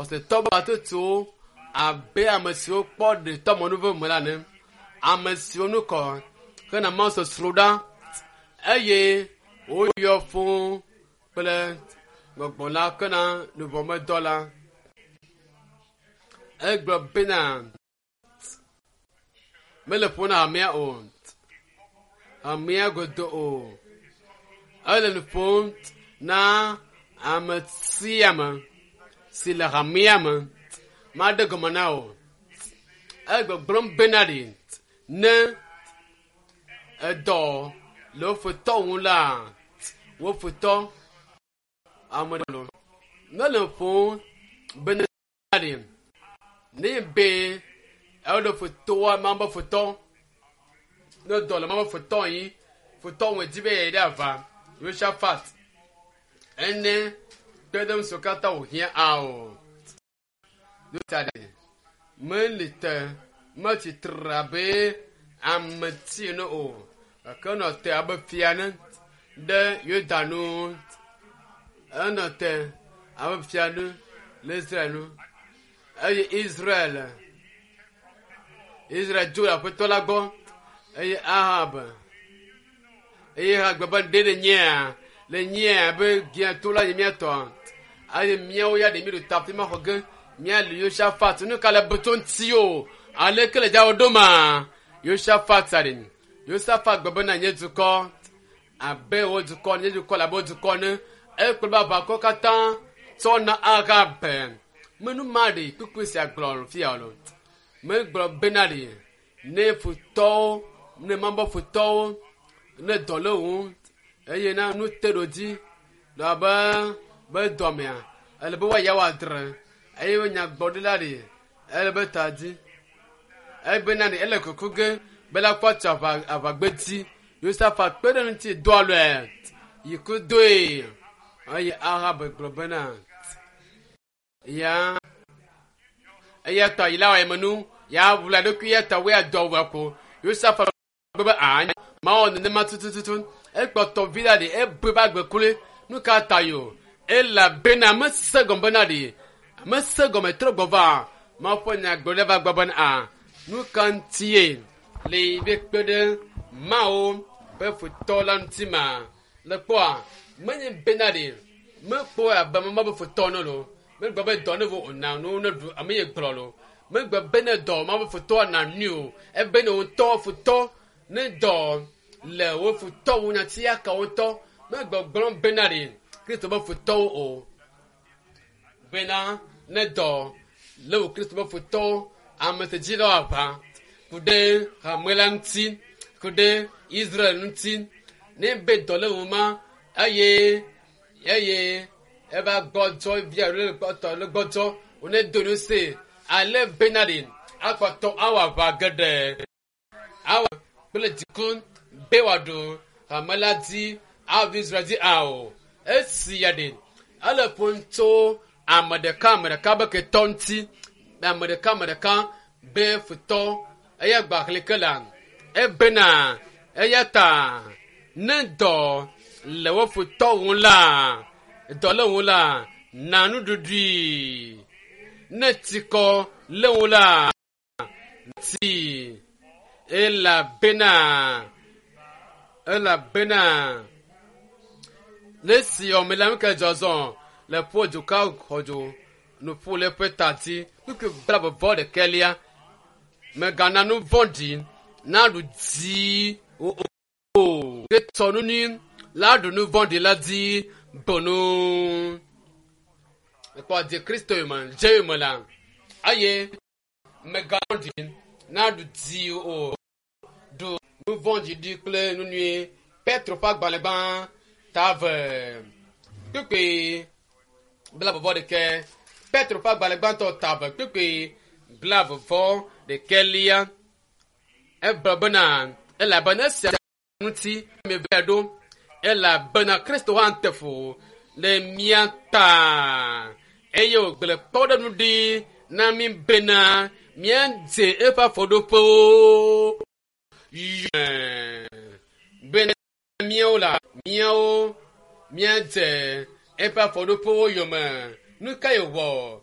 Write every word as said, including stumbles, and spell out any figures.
Xɔsetɔ batutuwo abe ame siwo kpɔ ɖetɔmɔnuve me la ene. Ame siwo nu kɔ hena mawusosroɖa eye woyɔ fũu kple gbɔgbɔ la kena luʋɔmedɔ la. Egblɔ bena mele ƒom na hamea o, hamea godo o. Ele nu ƒom na ame sia ame si le hamea me. Maɖe gɔme na wò. Egbɔgblɔm bena ɖi ne edɔ le wo futɔ ŋu la, wo futɔ ame ɖe lo. Mele ƒom bena ɖi ne be eɖo futɔa ma be futɔ ne dɔ le ma be futɔ yi futɔ ŋu dzi be yeyi ɖe ava Yosafat ene kpe ɖe ŋu siwo katã wòhiã ao. Nu ta ɖe meli te metsi tre abe ame ti ene o gake enɔ te abe fia ene ɖe Yuda nu. Enɔ te abe fia ene le Israel nu eye Israel Israel dzo le aƒetɔ la gbɔ eye Ahab eye Ahab gblɔ be ɖe le nyea le nyea be gia to la nye mía tɔ eye míawo ya ɖe mi ɖo ta fi ma xɔ ge míali Yosafat nu ka le be tso ŋuti o aleke le dzawo ɖo ma Yosafat aɖe Yosafat gblɔ bena nye dukɔ abe wo dukɔ nye dukɔ le abe wo dukɔ ne ekplɔ be aʋakɔ katã tsɔ na Ahab menu ma ɖe kpukpui sia gblɔ fia o megblɔ bena ɖe ne futɔwo ne mabɔ futɔwo ne dɔ le wo eye na nu te ɖo dzi le abe be dɔmea ele be woaya woadre eye nyagbɔɖila ɖe ele be ta dzi ebena ɖe ele kuku ge be la kpɔ tso aʋa aʋagbedzi Yosafat kpe ɖe ŋuti do alɔe yi ku doe eye Ahab gblɔ bena ya eya ta yi la wɔ emenu ya wula ɖokui ya ta woya dɔ wɔ ko Yosafat gblɔ be aa mawɔ nenema tutututu ekpɔtɔ vi la ɖe ebe ba gbe kloe nu ka ta yo elabena mese gɔme bena ɖe mese gɔme trɔ gbɔ va mawu ƒe nyagblɔɖi va gbɔ bena a nu ka ŋutie le yi be kpe ɖe mawo ƒe futɔ la ŋuti ma le kpɔa menye bena ɖe mekpɔ abe mama be futɔ ne lo megblɔ be dɔ ne vo ona nu ne ɖu ame ye gblɔ lo megblɔ be ne dɔ ma be futɔ na nui o ebe ne wotɔ futɔ ne dɔ le wo futɔ wo nyati aka wo ŋutɔ megbɔgblɔm bena ɖe Kristo be futɔwo o bena ne dɔ le wo Kristo be futɔwo ame si dzi le aʋa ku ɖe hame la ŋuti ku ɖe Israel ŋuti ne be dɔ le wo ma eye eye eva gbɔdzɔ via le gbɔtɔ le gbɔdzɔ wone do nu se ale bena ɖe akpɔtɔ awɔ aʋa geɖe awɔ kple dziku be wòaɖu hame la dzi aɖu Israel dzi ao esi ya ɖe ele ƒom tso ame ɖeka ame ɖeka be ketɔ ŋuti ame ɖeka ame ɖeka be futɔ eya gba xlẽ la ebena eya ta ne dɔ le wo futɔ ŋu la dɔ le ŋu la na nuɖuɖui ne tsikɔ le ŋu la ti elabena elabena le si ɔme la nuke dzɔzɔ le ƒo dzuka xɔdzo nuƒo le ƒe ta dzi kpukpui bla vɔvɔ ɖekɛlia megana nu vɔ̃ɖi naɖu dzi o o ke tsɔ nu nyui la ɖu nu vɔ̃ɖi la dzi bonu ekpɔ dze Kristo yome dze yome la eye megana vɔ̃ɖi naɖu dzi o ɖu nu vɔ̃ɖi ɖi kple nu nyui Petro ƒe agbalẽ gbã ta eve kpukpui bla vɔvɔ ɖekɛ Petro ƒe agbalẽ gbãtɔ ta eve kpukpui bla vɔvɔ ɖekɛlia egblɔ bena elabena esia ŋuti mieva ɖo elabena Kristo hã te fu le mía ta eye wògblẽ kpɔɖeŋu ɖi na mí bena míadze eƒe afɔɖoƒewo yɔe bena míawo la míawo míadze eƒe afɔɖoƒewo yome nu kae wòwɔ